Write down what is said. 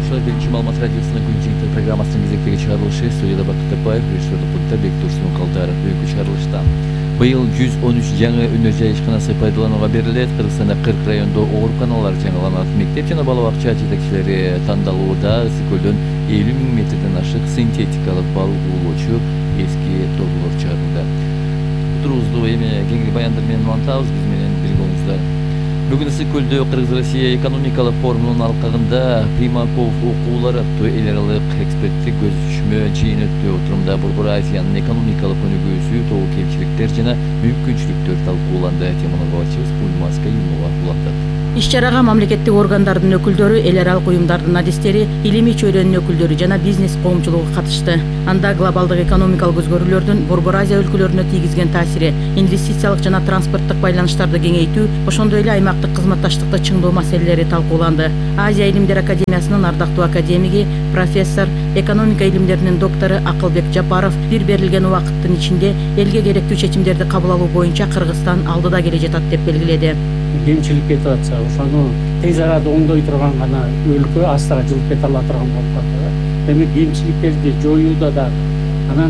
Ошол биринчи маалымат радиосунун күн жыйынтыгы программасынын кезектеги чыгарылышы студияда Бакыт Тапаев, режиссерлук пультта Бектур Сункалдаров бүгүнкү чыгарылышта. Быйыл 113 жаңы өнөр жай ишканасы пайдаланууга берилет. Кыргызстанда 40 райондо ооруканалар жаңыланат. Мектеп жана бала бакча жетекчилери тандалууда. Ысык көлдөн 50 000 метрден ашык синтетикалык балык уулоочу эски торлор чыгарылды. Турубузду эми кеңири баяндар менен улантабыз. Биз менен бирге болуңуздар. Бүгүн Ысык көлдө Кыргыз-Россия экономикалык форумунун алкагында Примаков окуулары аттуу эл аралык эксперттик көз түшмө жыйын өттү. Отурумда Борбор Азиянын экономикалык өнүгүүсү, тобу кемчиликтер жана мүмкүнчүлүктөр талкууланды. Теманы кабарчыбыз Пулмас Каюмова улантат. Иш-чарага мамлекеттик органдардын өкүлдөрү, эл аралык уюмдардын адистери, илимий чөйрөнүн өкүлдөрү жана бизнес коомчулугу катышты. Анда глобалдык экономикалык өзгөрүүлөрдүн Борбор Азия өлкөлөрүнө тийгизген таасири, инвестициялык жана транспорттук байланыштарды кеңейтүү, ошондой эле аймактык кызматташтыкты чыңдоо маселелери талкууланды. Азия илимдер академиясынын ардактуу академиги, профессор, экономика илимдеринин доктору Акылбек Жапаров бир берилген убакыттын ичинде элге керектүү чечимдерди кабыл алуу боюнча Кыргызстан алдыда келе жатат деп белгиледи. Кемчилик кетип атса, ошону тез арада оңдой турган гана өлкө астыга жылып кете ала турган болуп калды. Демек кемчиликтерди жоюуда да